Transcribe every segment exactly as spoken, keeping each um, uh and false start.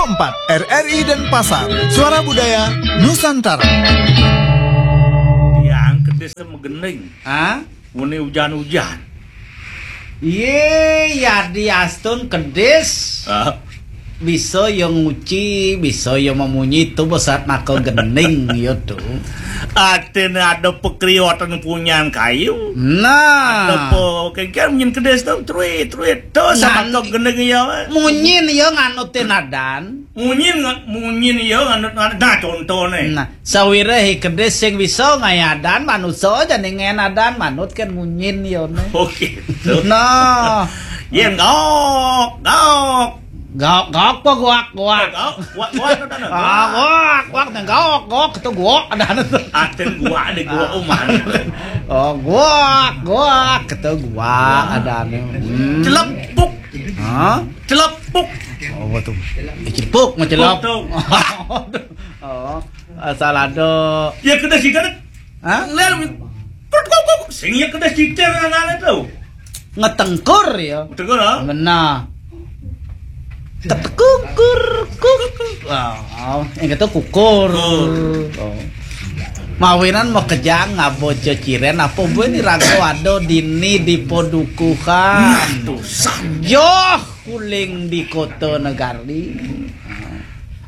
empat R R I Denpasar, Suara Budaya Nusantara. Yang kedis megening. Hah? Muni ujan-ujan. Iye, Yadi Astun kedis. Ah. Bisa ya nguci, bisa ya memunyi tu besat maka gening ya tu. Atin ada pekriwatan punyan kayu. Nah. Ada pe kengkeng munyin kedis tu, truit, truit. Tu sama Ngan- tu gening ya. Munyin ya nganutin adan. Munyin nga-, munyin ya nganut, nganut. Nah, contoh ni. Nah, sawireh kedis sing bisa ngayadan manusa jani ngayadan manut kan munyin ya ni. Oh, gitu. Nah. Yen gok, gok. Gok, gok apa guak, guak? Gok, guak, guak tu dah. Ah, guak, guak ni gok, gok tu guak ada tu. Atin guak di guak umah. Oh, guak, guak tu guak ada ni. Hmm. Celepuk. Ha? Celepuk. Oh, apa tu? Eh, celepuk, mah celep. Puk tu. Oh, asal ada. Ya, kedai sigar. Ha? Lel, perut kok, kok. Sing ya kedai sigar anak-anak tu. Ngetengkur ya. Betul lah. Benar. Tetekungkur, kuk. Ah, yang kata kukur. Kukur. Oh. Mawinan makejang ngaba ceciren apa buin ni raga ada dini di padukuhan. Nah, tu sah. Joh kuling di kota negari.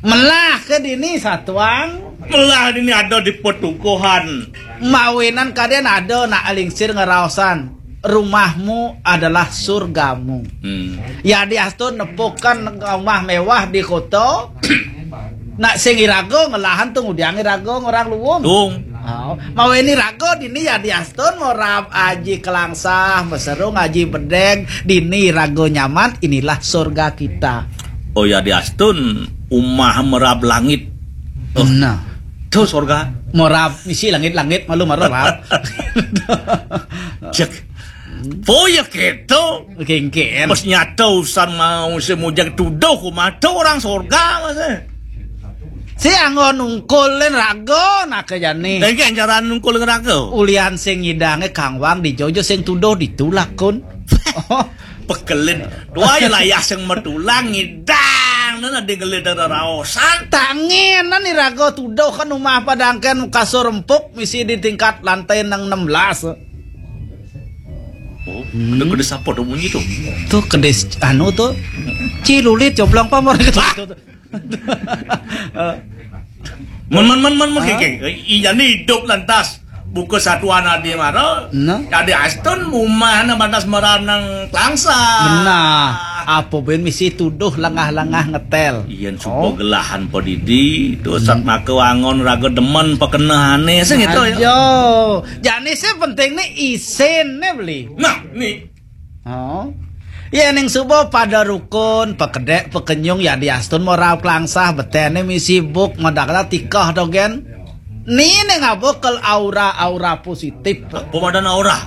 Melah ke dini satuang? Melah dini ada di padukuhan. Mawinan kadén ada nak lingsir ngeraosan. Rumahmu adalah surgamu. Hmm. Ya diastun nepukan rumah mewah di kota. Nak sing iraga ngelahan tu ngudiang iraga ngorang luung. Luung. Oh, mawinan iraga dini ya diastun morab aji kelangsah, meserung aji bedeg, dini iraga nyaman, inilah surga kita. Oh ya diastun umah merab langit. Oh. Nah. Tu surga. Morab misi langit-langit malu marab. Cek. Oh ya gitu. Kengken. Pas nyata usan mau semujak tuduh ku mata orang surga masa. Si anggo nungkulin raga nak jani. Dan kan cara nungkulin raga. Ulian sing ngidange kangwang di jojo sing tuduh ditulak kun. Pekelin. Dua ya layah sing metulang ngidang. Nana di ngelit ada raosan. Tanginan ni raga tuduh kan rumah padangkan kasur empuk misi di tingkat lantai nang enam belas. Oh, hmm. Ada kedis apa tu bunyi tu? Tu kedis anu tu. Cilulit coblang pamor gitu. Mon, mon, mon, mon, mon, kengkeng. Iya ni hidup lantas. Buka satuan adi mara. Nah. Adi astun mumah na batas mara nang kelangsa. Benar. Apa ben misi tuduh lengah-lengah ngetel. Iyan suba gelahan padidi, tu sat maka wangon raga demen pakenehane sing gitu ya. Ayo. Jani sih penting ni isin ni beli. Nah, ni. Oh. Ya ning suba pada rukun, pekedek, pekenyung ya diastun mau raup kelangsah betene misi buk madakala tikah dogen. Ni ning apa kel aura-aura positif. Apa madan aura?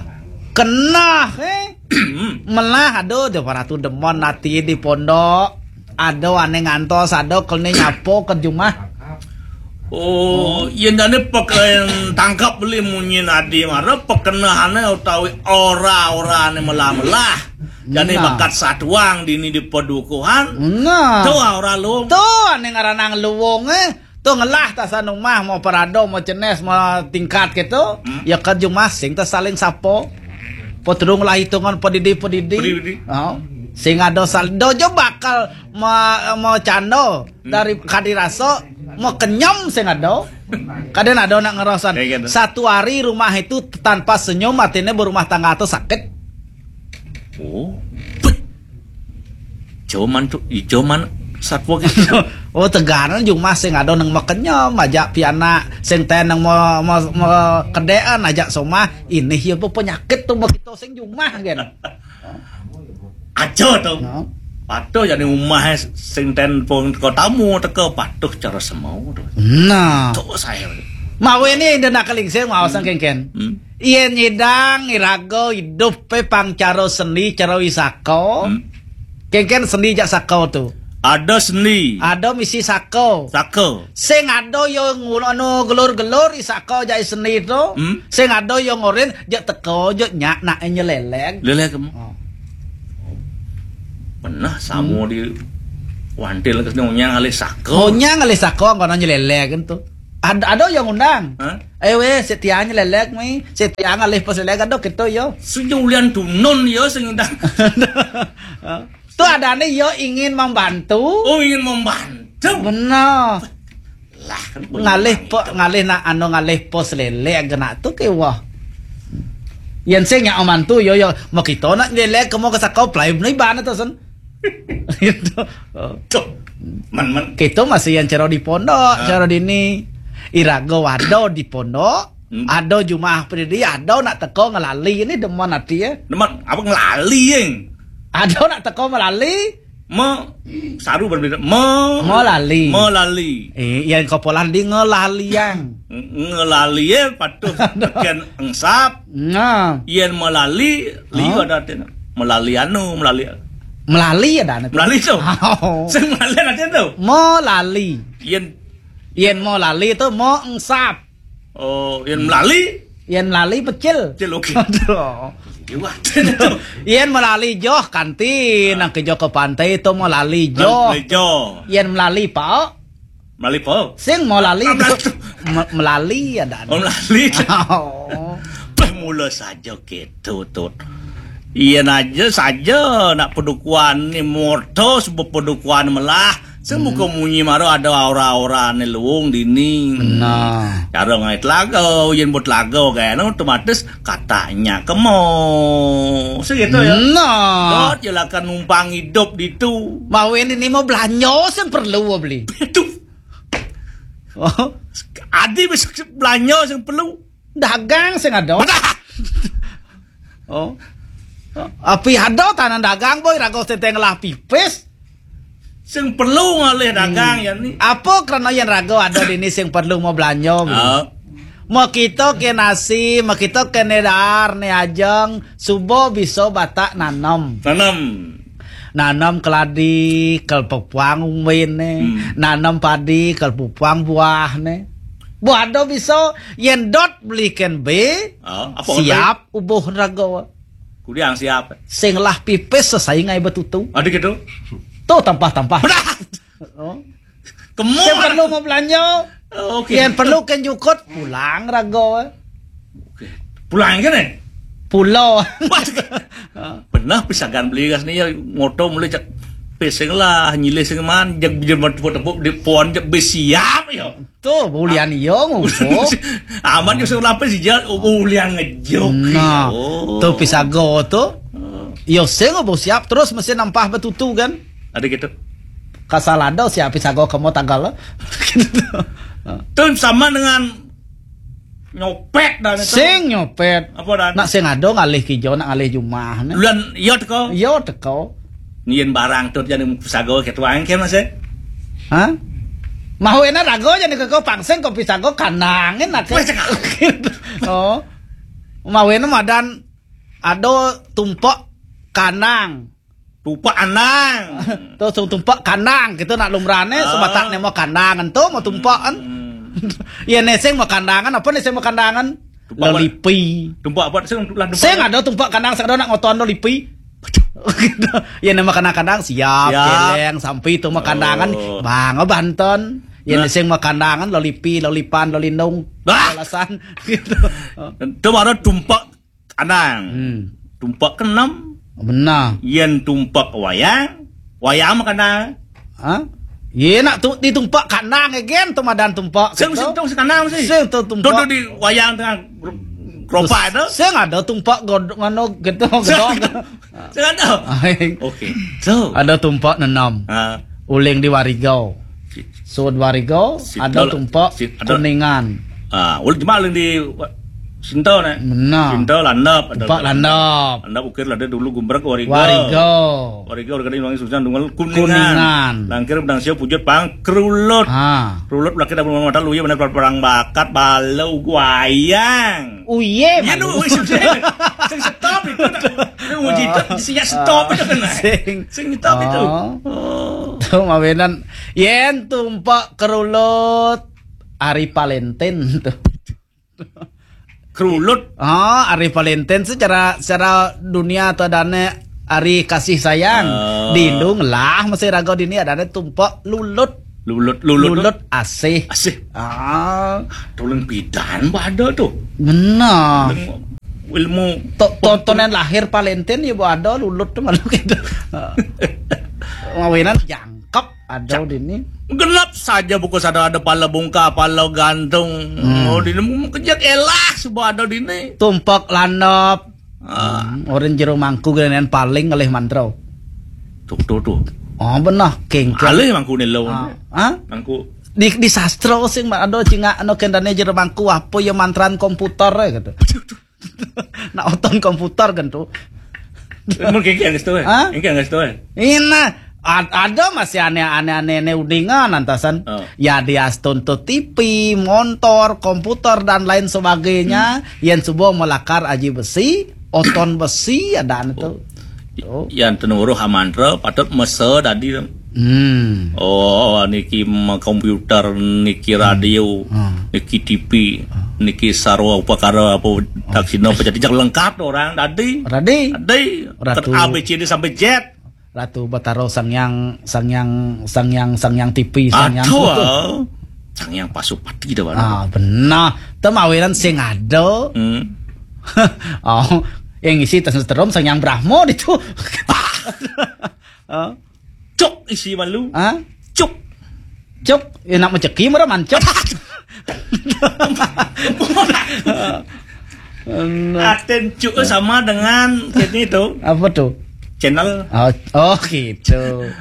Kenah eh. Melah aduh dia para tu demen ati di pondok. Ada ane ngantos, ada kene nyapo ke jumah. Oh, yen dane peken tangkap beli munyin adi mara pekenehane utawi ora-orane melah-melah. Jane nah. Bakat satuang dini di padukuhan. Nah. Tu ora lu. Tu ane ngaranang luwung eh. Tu ngelah tasan umah mau parado mau cenes mau tingkat gitu. Hmm. Ya ke jumah sing ta saling sapo. Potrung lah hitungan pedidi-pedidi. Pedidi. Oh. Sing ada sal dojo bakal ma, ma cando dari kadiraso mau kenyem sing ada. Kadén ada nak ngerosan. Kayak gitu. Satu hari rumah itu tanpa senyum artinya berumah tangga atau sakit. Oh. Cuman tu, cuman satwa gitu. Oh teganan jumah sing ada nang mau kenyem aja piana sing ten nang mau mau mau kedean aja somah ini ya penyakit tu begitu sing jumah kan. Aja to. Nah. Patuh jani umah sing ten pun teko tamu teko patuh cara semau to. Nah. To saya. Mawe ni ida nak kelingsir mau sang kengken. Hmm. Iya nyidang iraga hidup pe pang cara seni cara wisaka. Hmm. Kengken seni jak saka tu. Ada seni. Ada misi saka. Saka. Sing ada yo ngulono gelur-gelur i saka jai seni tu. Hmm. Sing ada yo ngorin jak teko jak nyak nak nyeleleng. Leleng kamu. Oh. Pernah sama hmm. Di Wantil ke sini onyang alih saka. Onyang alih saka, kono nyelelek tu. Ada, ada yang undang. Hah? Eh, weh, setia nyelelek, mi. Setia ngalih pas lelek, ada kita, yo. Sudah ulian tunun, yo, sing undang. Tu ada nih, yo, ingin membantu. Oh, ingin membantu. Benar. Lah, kan ngalih pe, ngalih nak anu, ngalih pos lelek kena tu ke wah. Yang sing yang aman tu, yo, yo. Mau kita nak lelek, kamu ke sakau, pelai, beli bana tu, sen. Gitu. Oh. Tuh. Man, man. Kita masih yang cara di pondok, ah, cara di ni. Iraga wado di pondok, hmm, ada jumah pedidi, ada nak teko ngelali ni demen hati, ya. Demen apa ngelali, yang? Ada nak teko melali? Me, saru berbeda. Me, melali. Melali. Eh, yang kopolan di ngelali, yang. Ng-, ngelali, ya, patuh. Tekan engsap. Nah. Yen melali, liu, oh, ada artinya. Melali anu, melali. Melali ada anu. Melali tu. Oh. Sing melali ada tu. Melali. Yen, yen melali tu mau engsap. Oh, yen melali? Yen melali pecil. Pecil, oke. Aduh. Iya, ada tu. Yen melali joh kanti. Ah. Nang ke joh ke pantai tu melali joh. Melali joh. Yen melali pao. Melali apa? Sing mau lali. Ah, tu. Melali. Me-, melali ada. Oh, melali. Oh. Beh, mula saja gitu, Tut. Iya aja saja nak pedukuan ni moto sebab pedukuan melah. Sing muka munyi maro ada aura-aura ni luung dini. Benar. Cara ngai telaga, yen buat telaga kan otomatis katanya kemo. Segitu ya. Nah. Dot je lah kan numpang hidup di tu. Mau ini ni mau belanja sing perlu beli. Itu. Oh. Adi besok belanja sing perlu. Dagang sing ada. Oh. Api ada tanah dagang boy rago seteng lah pipis. Sing perlu ngalih dagang ya ni. Apa kerana yang rago ada di ni sing perlu mau belanja? Oh. Mau kita ke nasi, mau kita ke nedar ni ajeng, subuh bisa batak nanam. Nanam. Nanam keladi, kel pepuang umbin ni. Hmm. Nanam padi, kel pepuang buah ni. Buah do bisa, yen dot belikan be, ah, apa siap ubuh rago. Kudiang siap. Sing lah pipis sesai ngai betutu. Ada gitu. Tu tampah-tampah. Benar. Oh. Kemu. Sing perlu mau belanja. Oke. Yang perlu kan jukut pulang rago. Oke. Pulang kan eh? Pulau. Benar pisagan beli gas ni ya moto mulai cak pesing lah nyilih sing man jak bijil tepuk di pon jak besiap ya. Tu bulian iyo ngupo. Amat yo sing lapis ija bulian ngejuk. Nah, oh. Tu pisago tu. Oh. Yo sing obo siap terus mesti nampah betutu kan. Ada gitu. Kasal ada siap pisago kemo tagal. Gitu. Tu sama dengan nyopet dan itu. Sing nyopet. Apa dan? Nak sing ada ngalih kijo, nak ngalih jumah ni. Luan iyo teko. Iyo teko. Nien barang tu jadi pisago ketua engke mas eh. Hah? Mau enak rago jadi keko pangsing kopi sago kanangin nak. Wes, cekak. Oh. Mau enak madan ada tumpok kanang. Tumpok anang. Terus tumpok kanang gitu nak lumrane. Ah. Sebatak ne mau kandangan tu mau tumpok kan. Hmm. Ya neseng mau kandangan apa neseng mau kandangan? Tumpok apa? Lelipi. Tumpok apa? Sing lah tumpok. Sing ada tumpok kanang sing ada nak ngoton lelipi. Gitu. Ya nama kanang-kanang siap, siap. Celeng sampai itu mau kandangan. Oh. Bang banton. Ya nah. Sing mau kandangan lelipi, lelipan, lelindung. Bah. Alasan gitu. Itu baru tumpok kanang. Hmm. Tumpok keenam. Benar. Yen tumpok wayang, wayang mah kanang. Hah? Ye nak tu ditumpak kanang again tu madan tumpak. Sing gitu. Sing tu sekanang sih. Sing tu tumpak. Tu di wayang tengah keropak tu. Sing ada tumpak god ngono gitu gedong. Sing ada. Aing. Oke. So. Ada tumpak nenam. Ha. Uling di Warigau. Sud Warigau ada tumpak ada. Kuningan. Ah, ul cuma uling di Sinto ne. Benar. Sinto landap ada. Tempat landap. Landap ukir lada dulu gumbrek Warigo. Warigo. Warigo Warigo di Wangi Susan Dungal Kuningan. Kuningan. Langkir Bedang Sio Pujut Pang Kerulut. Ah. Kerulut belakang dah belum mata luye benar perang bakat bala ugu ayang. Uye. Iya nu sudah. Sing stop itu. Itu uji itu siap stop itu kan. Sing. Sing stop itu. Oh. Oh. Tu mawinan yen tumpak kerulut hari Valentine tu. Kerulut. Ah, hari Valentine secara secara dunia tu adane ari kasih sayang. Ah. Dini lah masih raga dini adané tumpek lulut. Lulut, lulut. Lulut asih. Asih. Ah, tuling pidan pada tuh. Benar. Ilmu, ilmu to-, tontonan lahir Valentine ya, Bu, ada lulut tuh malu gitu. Mawinan jangkep ada dini. Genep saja buku sada ada pala bungka, pala gantung. Hmm. Oh, dini mau kejak elah, suba ada dini. Tumpek landep. Ah. Hmm, orang jero mangku genen paling ngelih mantra. Tuh, tuh, tuh. Oh, benar, kéngkén. Alih mangku nih lo. Ah. Hah? Mangku. Di, di sastra sing ada cingak anu kendane jero mangku apa ya mantran komputer ya gitu. Nak oton komputer kan tuh. Mun kéngkén geus tuh. Hah? Kéngkén geus tuh. Ina, ad-, ada masih aneh-aneh, aneh-aneh udingan antasan. Oh. Ya diastun tuh T V, montor, komputer dan lain sebagainya. Hmm. Yen suba melakar aji besi, oton besi ada anu tuh. Oh. Yan tenuruh amantra patut mese tadi. Hmm. Oh, niki ma-, komputer, niki radio, hmm, niki T V, hmm, niki sarwa upakara apa daksina apa jadi lengkap orang tadi. Tadi. Tadi. Ratu. Ket A B C D sampai Z. Ratu Batara Sangyang, Sangyang, Sangyang, Sangyang T V, Sangyang Aduh, foto. Ah. Sangyang Pasupati dah baru. Ah, benar. Temawinan sing ada. Hmm. Oh, yang isi tas terum Sangyang Brahma itu. Oh. Cuk isi malu. Hah? Cuk. Cuk, enak mejeki mara mancuk. Nah. Aten cuk sama dengan ini tuh. Apa tuh? Channel. Oh, oh gitu.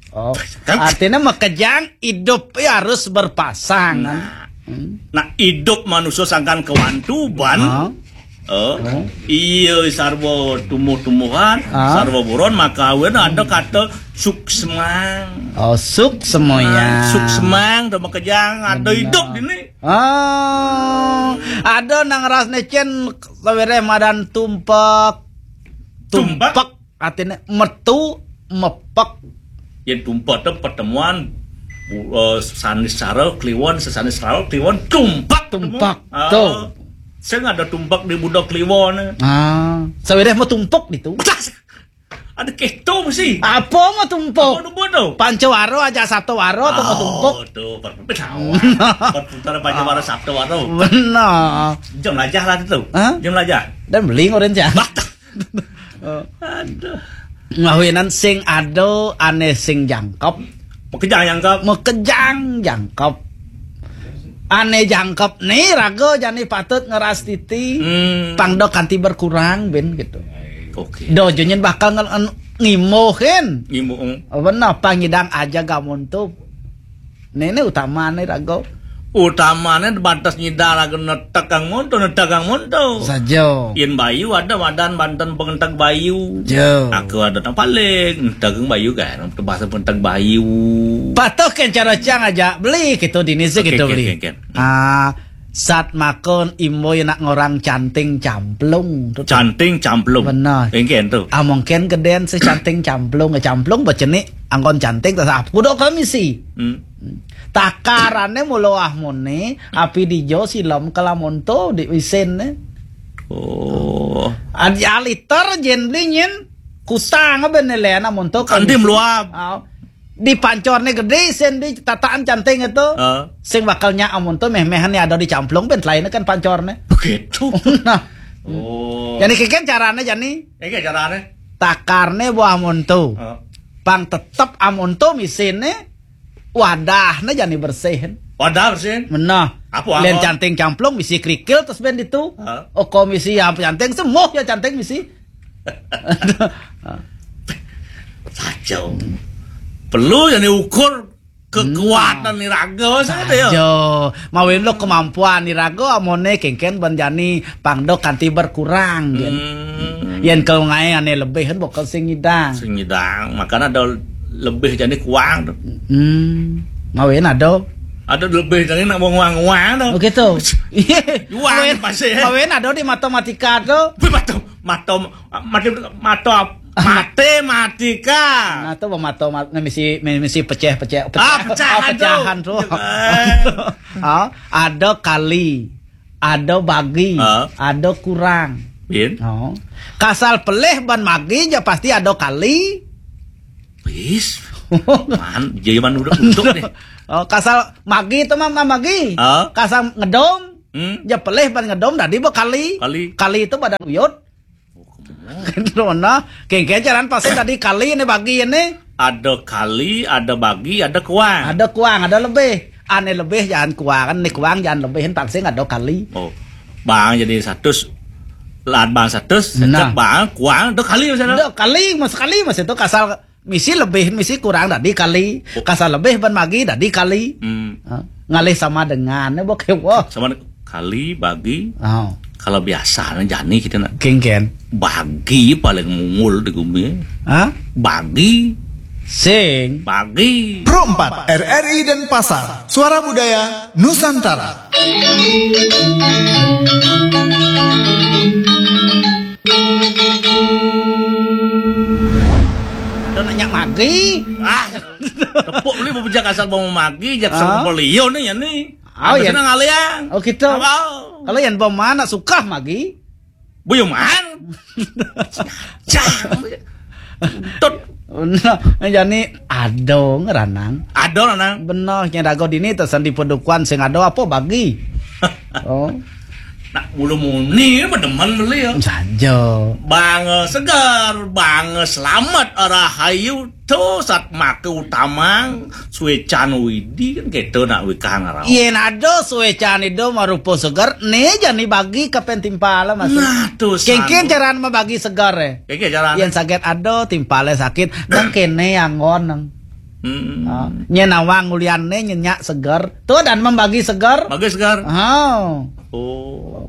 Oh, kan artinya makejang hidup ya harus berpasang. Nah. Hmm. Nah, hidup manusia sangkan kewantuban. Ah. Oh. Oh. Iya, sarwa tumbuh-tumbuhan, ah, sarwa buron, maka awen ada kata suksmang. Oh, suksma ya. Ah, suksmang, sama kejang, ada benar. Hidup ini. Oh, ada nang ras necen, sawereh madan tumpek. Tumpek? Tumpek. Artinya metu, mepek. Yen tumpek itu pertemuan, bu-, eh, sanis sara kliwon, sesanis sara kliwon, tumpek. Tumpek, ah, tuh. Sing ada tumpek di budak kliwon. Ah, sawereh mau tumpek gitu. Ada keto mesti. Apa mau tumpek? Apa tumpek tuh? Pancawara aja Saptawara atau mau tumpek? Oh, tuh, perputaran. Perputaran Pancawara Saptawara. Benar. Jam lajah lah itu. Hah? Jam lajah. Dan beling orang cah. Bah. Oh. Aduh. Ngawinan sing ada aneh sing jangkep. Makejang jangkep. Makejang jangkep. Aneh jangkep nih raga jani patut ngeras titi. Hmm. Pangdok kanti berkurang ben gitu. Oke. Dojo nyen bakal nge-, ngimuhin. Ngimuh. Benar pangidang aja gamun tuh. Nene utamane raga. Utamane batas nyidang raga netegang monto, netegang monto. Saja. Yen bayu ada madan banten pengenteg bayu. Jo. Aku ada tang paling netegang bayu kan, bahasa pengenteg bayu. Patuh kan cara cang aja beli gitu dini sih oke, gitu oke, beli. Oke, oke. Ah, sat makon imboy nak ngorang canting camplung. Tuh, tuh. Canting camplung. Benar. Engken tuh. Ah, mungkin gedén sih canting camplung, camplung baceni anggon canting tas apa kudu komisi. Hmm. Takarane mula ahmone, api dijo silem kelamonto di isin ne. Oh. Ad-, aliter jen beli nyen kutang ben lena monto kanti meluap. Ah. Di pancorne gedé isin di tataan canting itu. Ah. Sing bakal nya amonto meh-mehan ada di camplung ben lainnya kan pancorne. Begitu. Nah. Oh. Jadi keken carane jani. Keken carane. Takarne buah monto. Ah. Pang tetep amonto misine. Wadahna jani bersihin. Wadah bersihin. Menah. Apa, apa? Lain canting camplung bisi kerikil terus ben ditu. Hah? Oh, komisi ya canting semuh ya canting bisi. Kacau. Perlu jani ukur kekuatan nih raga maksudnya ya. Saja. Mawin lo kemampuan nih raga amone kengken ben jani pangdok kanti berkurang. Hmm. Yen kalau ngae ane lebih kan bakal sing ngidang. Sing ngidang, makanya ada lebih jadi kuang tuh. Hmm. Mawin ada. Ada lebih dari nak wong uang-uang tuh. Oh gitu. Iya. Uang pasti ya. Mawin ada di matematika tuh. Wih, mata, mata, mata, mata, matematika. Nah, tuh mata, mat-, misi, misi pecah, pecah, ah, pecah, pecahan tuh. Pecahan tuh. Iya, kan? Ah, ada kali. Ada bagi, ah, ada kurang. Pian? Oh. Kasal pelih ban magi ja pasti ada kali. Wis. Man, jaman udah untuk deh. Oh, kasal magi itu mah mah magi. Oh. Kasal ngedom. Hmm. Ja pelih ban ngedom dadi ba kali. Kali. Kali itu badan uyut. Gitu nah. Kengke jalan pasti dadi kali ini bagi ini. Ada kali, ada bagi, ada kuang. Ada kuang, ada lebih. Ane lebih jangan kuang, ane kuang jangan lebihin pasti ada kali. Oh. Bang jadi seratus, lahan bang seratus, nah. Bang kuang, ada kali misalnya. Ada kali, mas kali mas itu kasal misi lebih, misi kurang dadi kali. Oh. Kasal lebih ban magi dadi kali. Hmm. Ha, ngalih sama dengan, ne bokeh wah. Sama de-, kali, bagi. Oh. Kalau biasa, ne jani kita nak. Kengken. Bagi paling mungul di gumi. Ha? Bagi. Sing. Bagi. Pro empat, R R I Denpasar, Suara Budaya Nusantara. Ada nanya magi. Ah, tepuk beli bebejak asal mau magi, jak ah. Sama beliau nih ya nih. Oh, ya. Ngaliang. Oh, gitu. Apa? Kalau yang bom mana suka magi? Buyuman. Cang. Tut. Nah, jani ado ngeranang. Ado ranang. Bener, nya dago dini tesan di pedukuan sing ado apa bagi? Oh. Nak bulu muni demen beli ya. Saja. Bang segar, bang selamat, rahayu. Tu sat make utamang suecan widi kan gitu nak wikang rau. Yen ado suecan ido marupa segar, ne jani bagi kapen timpal mas. Nah, tu kengken sanu. Caran mabagi segar eh. Kengken caran. Yen saget ado timpal sakit, nang kene anggon nang. Hmm. Ah, nyen awang ulian ne nyenyak segar. Tu dan membagi segar. Bagi segar. Oh. Oh.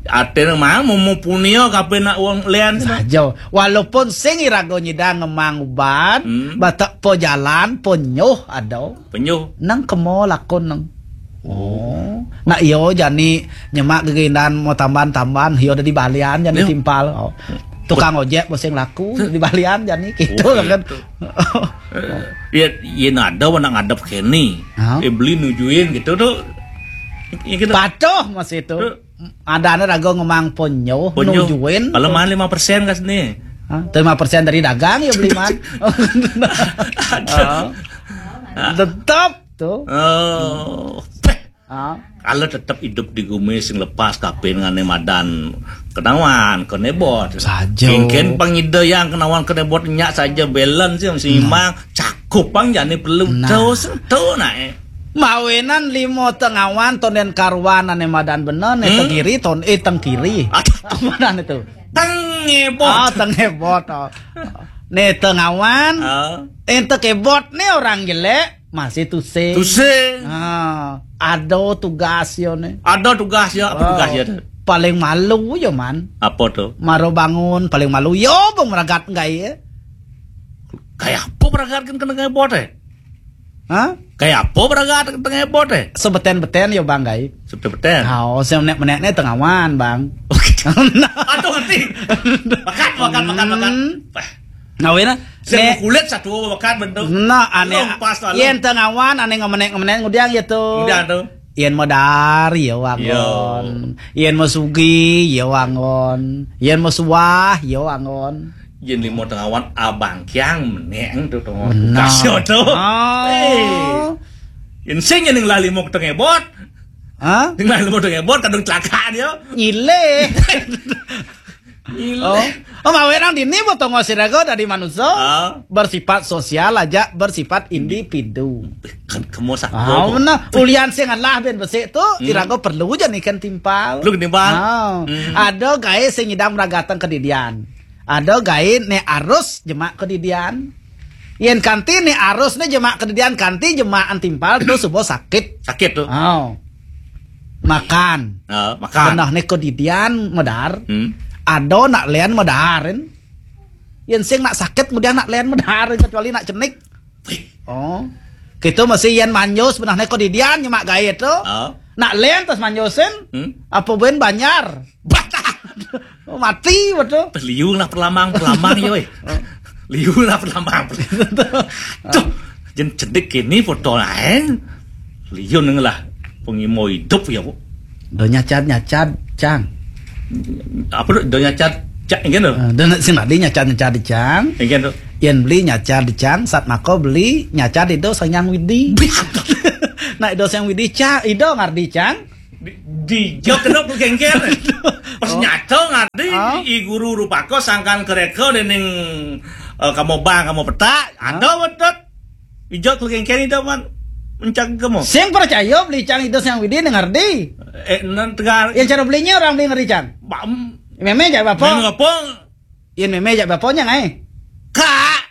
Ate mang mau punia kape nak wong lian. Saja. Walaupun sing irago nyidang ngemang ubat, hmm. Batak po jalan, po nyuh ado. Penyuh. Nang kemo lakon nang. Oh. Nak iyo jani nyemak gegindan mau tamban-tamban, iyo dadi balian jani timpal. Oh. Tukang ojek boseng laku di balian jani gitu kan. Iya, iya nada wana ngadep kene. Ha? Eh, beli nujuin gitu tuh. Iya gitu. Patuh mas itu. Tuh. Adane rago ngemang ponyo, ponyo. Nujuin. Kalau mahal lima persen kas nih. Hah? Lima persen dari dagang ya beli man. Aduh. Oh. Tetap tuh. Oh. Ah. Kalau tetap hidup di gumi sing lepas kapin ngane madan kenawan kenebot. Saja. Kengken pangida yang kenawan kenebot nyak saja balance yang seimbang. Nah. Cakup pang jane perlu nah. Terus tuh nah. Eh. Mawinan limo tengawan tonden karuan ane madan bener ne hmm? Tengkiri ton eh tengkiri. Aduh. Apa dan itu? Tengebot. Ah, tengebot. Oh. Ne tengawan. Oh. Ente kebot ne orang jelek masih tuse. Tuse. Ah, ada tugas yo ne. Ada tugas ya, apa oh, tugas ya tuh? Paling malu yo man. Apa tuh? Maro bangun paling malu yo bang meragat enggak ya? Kayak apa meragat kan kena ngebot eh? Hah? Kayak apa beragat tengah bot eh? Sebeten-beten ya bang gai. Sebeten-beten. Oh, saya menek-menek nih tengawan bang. Aduh nanti. Makan makan makan makan. Hmm. Nah, wena. Saya kulit satu makan bentuk. Nah, aneh. Yen tengawan aneh ngemenek-ngemenek ngudiang ya tuh. Ngudiang tuh. Yen mau dari ya wangon. Yen mau sugi ya wangon. Yen mau suah ya wangon. Yen limo tengawan abang kiang meneng tu tengah kasih tu. Oh. Eh. Yen sing yen lah limo tengah bot. Hah? Yen lah limo tengah bot kadung celaka dia. Nyile. Nyile. Oh. Oh, mawe nang dini bot tengah siraga dari manusia. Ah. Bersifat sosial aja, bersifat individu. Kan kamu satu. Ah, benar. Ulian sing Allah ben besik tu, hmm. Iraga perlu je ni kan timpal. Perlu timpal. Ah. Hmm. Ada gae sing idam ragatang kedidian. Ada gae ne arus jemak kedidian. Yen kanti ne arus ne jemak kedidian kanti jemak antimpal tu subo sakit. Sakit tu. Oh. Makan. Oh, makan. Benah ne kedidian medar. Hmm. Ada nak len medarin. Yen sing nak sakit kemudian nak len medarin kecuali nak cenik. Oh. Kita masih yen manjus benah ne kedidian nyemak gae tu. Oh. Nak len terus manjusin. Hmm? Apa ben banjar? Batah. Oh, mati betul. Liu lah perlamang, perlamang ya weh. Liu lah perlamang. Tuh, jen cedik kini foto lain. Liu neng lah pengimo hidup ya, Bu. Do nyacad-nyacad, Cang. Apa tu? Ido nyacad cak, engken tu? Ah, dan sing tadi nyacad-nyacad dicang. Engken tu? Yen beli nyacad dicang, satmaka beli nyacad Ido Sang Hyang Widi. Nah, Ido Sang Hyang Widi cang, Ido ngardi cang. Di, di jok kedok tu kengker. Pas Oh. Nyata ngardi, Ah. I Guru Rupaka sangkan kereka dening, eh, kamu bang, kamu petak, Ah. Ada betul. Ijok kelengker Ido man mencak kamu. Sing percaya beli cang Ido Sang Hyang Widi ngardi. Eh, nan tegar. Yang cara belinya orang beli ngardi cang. Bam. Meme jak bapa. Meme apa? Yen meme jak bapanya ngai. Kak.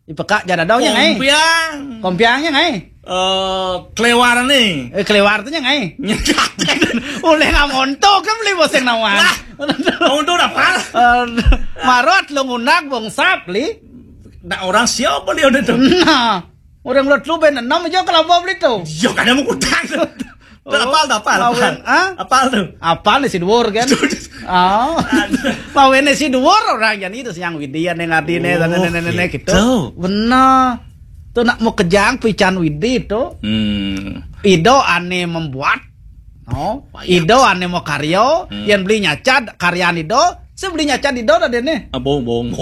Ipekak jak dadau nya ngai. Kompiang. Kompiangnya ngai. Eh, kelewar ni. Eh, kelewar tu nya ngai. Nyekat. Oleh ngamonto kan beli boseng nawan. Wah, ngamonto dah pal. Eh, marot lu ngunak bongsap li. Nak orang siapa beli udah tu? Nah, orang lot lu ben enam aja kelapa beli tu. Yo, kada mau kutang tu. Oh, apal tu, apal, apal. Mawen, ah? Apal tu. Apal ni si Duwur kan? Oh. Aduh. Mawen ni si Duwur orang jan itu siang Widi yang ngardi ne, oh, sana nene nene gitu. Gitu. Benar. Tu nak mau kejang pican Widi tu. Hmm. Ido ane membuat. No. Wayah. Ido ane mau karyo, hmm, yang beli nyacad karyan Ido, sebeli nyacad Ido dah dene. Ah, bohong, bohong, bohong.